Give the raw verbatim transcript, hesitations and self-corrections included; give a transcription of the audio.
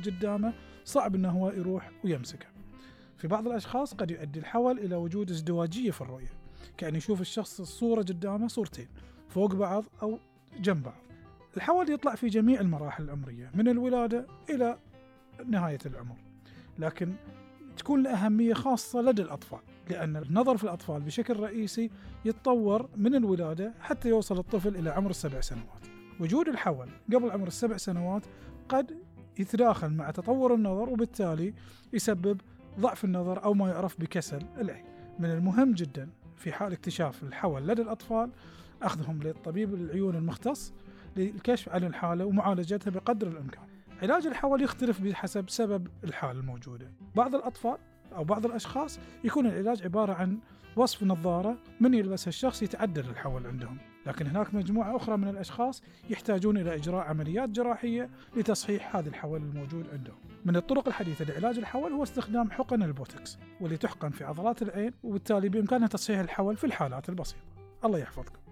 قدامه صعب أنه هو يروح ويمسكه. في بعض الأشخاص قد يؤدي الحول إلى وجود ازدواجية في الرؤية، كأن يشوف الشخص الصورة قدامه صورتين فوق بعض أو جنب بعض. الحول يطلع في جميع المراحل العمرية من الولادة إلى نهاية العمر، لكن تكون له أهمية خاصة لدى الأطفال، لأن النظر في الأطفال بشكل رئيسي يتطور من الولادة حتى يوصل الطفل إلى عمر السبع سنوات. وجود الحول قبل عمر السبع سنوات قد يتداخل مع تطور النظر، وبالتالي يسبب ضعف النظر أو ما يعرف بكسل العين. من المهم جدا في حال اكتشاف الحول لدى الأطفال أخذهم للطبيب العيون المختص للكشف عن الحالة ومعالجتها بقدر الإمكان. علاج الحول يختلف بحسب سبب الحالة الموجودة. بعض الأطفال أو بعض الأشخاص يكون العلاج عبارة عن وصف نظارة من يلبسها الشخص يتعدل الحول عندهم، لكن هناك مجموعة أخرى من الأشخاص يحتاجون إلى إجراء عمليات جراحية لتصحيح هذا الحول الموجود عندهم. من الطرق الحديثة لعلاج الحول هو استخدام حقن البوتوكس، واللي تحقن في عضلات العين، وبالتالي بإمكانها تصحيح الحول في الحالات البسيطة. الله يحفظكم.